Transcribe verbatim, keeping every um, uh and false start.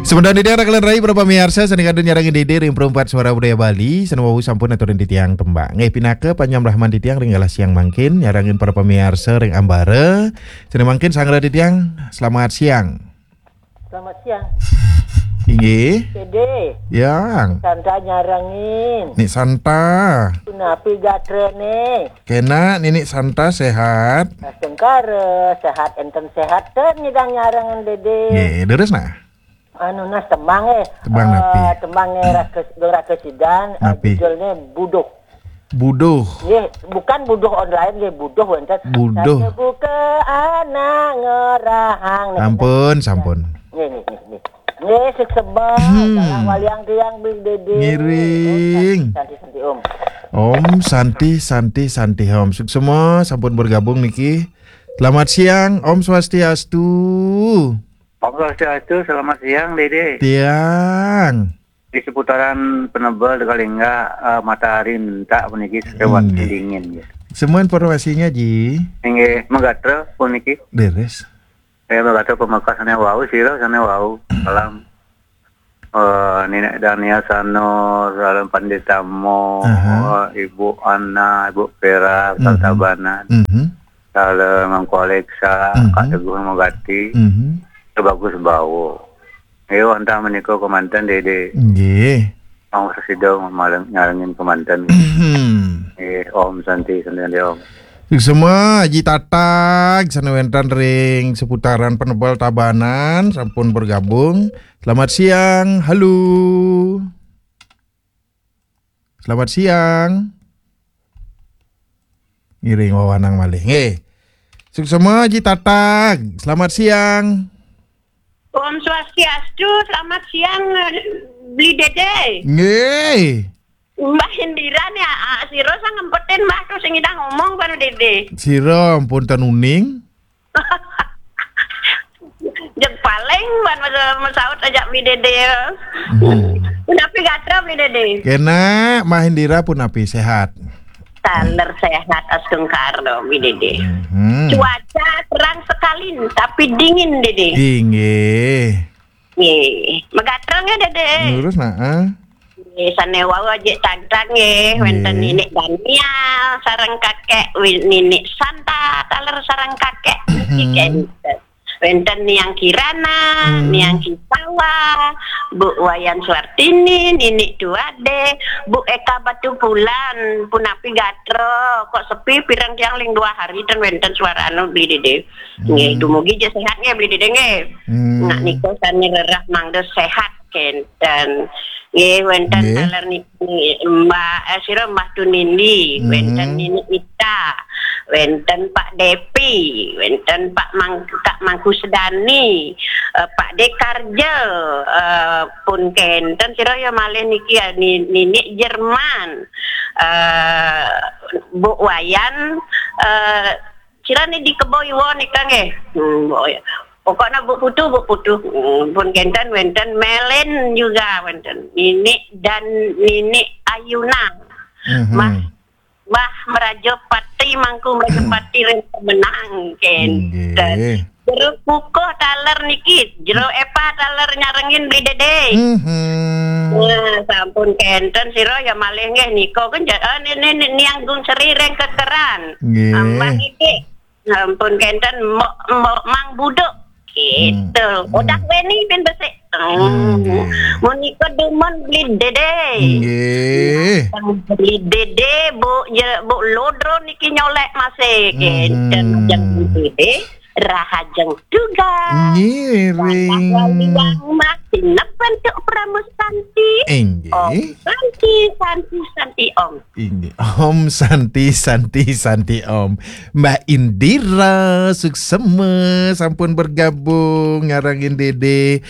Semeton titiang raka lan rai para pamiarsa sané kantun nyarengin Dédé ring Perempat Suara Budaya Bali, sané wau sampun aturin titiang tembang. Nggih, pinaka panyambrahman titiang ring galah siang mangkin, nyarengin para pamiarsa ring ambara. Sané mangkin sangra titiang, selamat siang. Selamat siang. Inggih. Dédé. Yang. Santa nyarengin. Nik Santa. Punapi gatrané? Kénak, Ninik Santa séhat. Astungkara, séhat énten séhat, ten nyidang nyarengin Dédé. Nggih, leres nah. Anu nah tembang, eh. Tembang napi? Eh, tembang, eh, Raka, Dong Raka Sidan, eh, napi? Judulné Buduh. Buduh. Nggih, bukan buduh online nggih, buduh wénten. Buduh. Saya buka anak ngerahang. Nggih, sampun, sampun. Nggih, nggih, nggih, nggih. Nggih, suksema, hmm, dalam waliang tiang Bli Dédé. Ngiring. Om Santi, Santi, Santi, Om. Om Santi, Santi, Santi, Om. Suksema, sampun bergabung niki. Selamat siang, Om Swastiastu. Om Swastiastu, selamat siang, Dédé. Tiang. Di seputaran Penebel, Dekalingga, eh, matahari mentak puniki, cuaca dingin, ya. Semua informasinya, Ji. Inggih, magatra puniki. Leres. Eh, magatra pamekas sané wau, sira sané wau. Salam. Eh, Ninik Dania Sanur, Salam Pandita Mo, aha, eh, Ibu Ana, Ibu Vera, mhm, Tabanan. Mhm. Salam Mangku Alexa, mhm, Kak Teguh Magati. Mhm. Bagus Bawo. Ayo, wantah menika kemanten, Dédé. Nggih. Mau sesida maleng nyarengin kemanten. Mhm. Nggih, Om Santi, Santi, Santi, Om. Suksema, Aji Tatag, sané wénten ring seputaran Penebel Tabanan, sampun bergabung. Selamat siang, halo. Selamat siang. Ngiring wewanang malih. Nggih. Suksema, Aji Tatag. Selamat siang. Om Swastiastu, selamat siang, Bli Dédé. Nggih. Mbah Indira nih, ah, sira sang ngempetin Mbah tuh sing nyidang ngomong baru Dédé. Sira ampun ten uning. Jeg paling ban masa masaut ajak Bli Dédé. Hmm. Punapi gatra Bli Dédé? Kénak, Mbah Indira punapi séhat? Taler séhat astungkara Bli Dédé. Hmm. Cuaca terang sekali tapi dingin, Dédé. Inggih. Nggih. Magatra nggih, Dédé? Lurus, nah, ah. Nggih, sané wau Aji Tatag nggih, nggih, wénten Ninik Daniel sareng Kakek, wi-, Ninik Santa taler sareng Kakek. Mhm. Niki kénten. Wénten Niang Kirana, hmm, Niang Kisawa, Bu Wayan Suartini, Ninik Tuade, Bu Eka Batupulan, punapi gatra, kok sepi pireng tiang ling dua hari ten wénten suara anu Bli Dédé. Nggih, hmm, dumugi ja séhat nggih Bli Dédé nggih. Hmm. Nak nika sané rerah mangda séhat kénten. Nggih, wénten, nggih, taler niki Mbah, eh, sira Mbah Tunindi, hmm, wénten Nini Ita, wénten Pak Depi, wénten Pak Mang-, Kak Mangku Sedani, eh, Pak Dekarja, eh, pun kénten sira ya malih niki ya Ni-, Nini Jerman, eh, Bu Wayan, eh, sira ni di Kebo Iwa nika nggih. Hmm, Bu Wayan. Pokoknya Bu Putu, Bu Putu. Hmm, pun kénten wénten Melen juga wénten. Nini dan Nini Ayuna. Mhm. Mbah, Mbah Meraja Pati, Mangku Meraja Pati ring Pemenang kénten. Nggih. Jero Kukuh taler niki, Jero Epa taler nyarengin Bli Dédé. Mhm. Nah, sampun kénten sira ya malih nggih nika kan ja-, eh, ni, ni, ni, Niang Gung Sri ring Kekeran. Nggih. Mbah niki. Sampun kénten Mbok, Mbok Mang Buduk. Gitu. Hmm. Udah Weni pin besik. Hmm. Nggih. Menika dumun Bli Dédé. Nggih. Bli Dédé, Bu, ya, Bu Lodro niki nyolek masih. Kénten, hmm, ajeng Bli Dédé, rahajeng tugas. Ngiring. Wali Wang Mas, sinep bentuk Pramu Santi. Inggih. Om Santi, Santi, Santi, Om. Inggih. Om Santi, Santi, Santi, Om. Mbak Indira Suksema sampun bergabung nyarengin Dédé.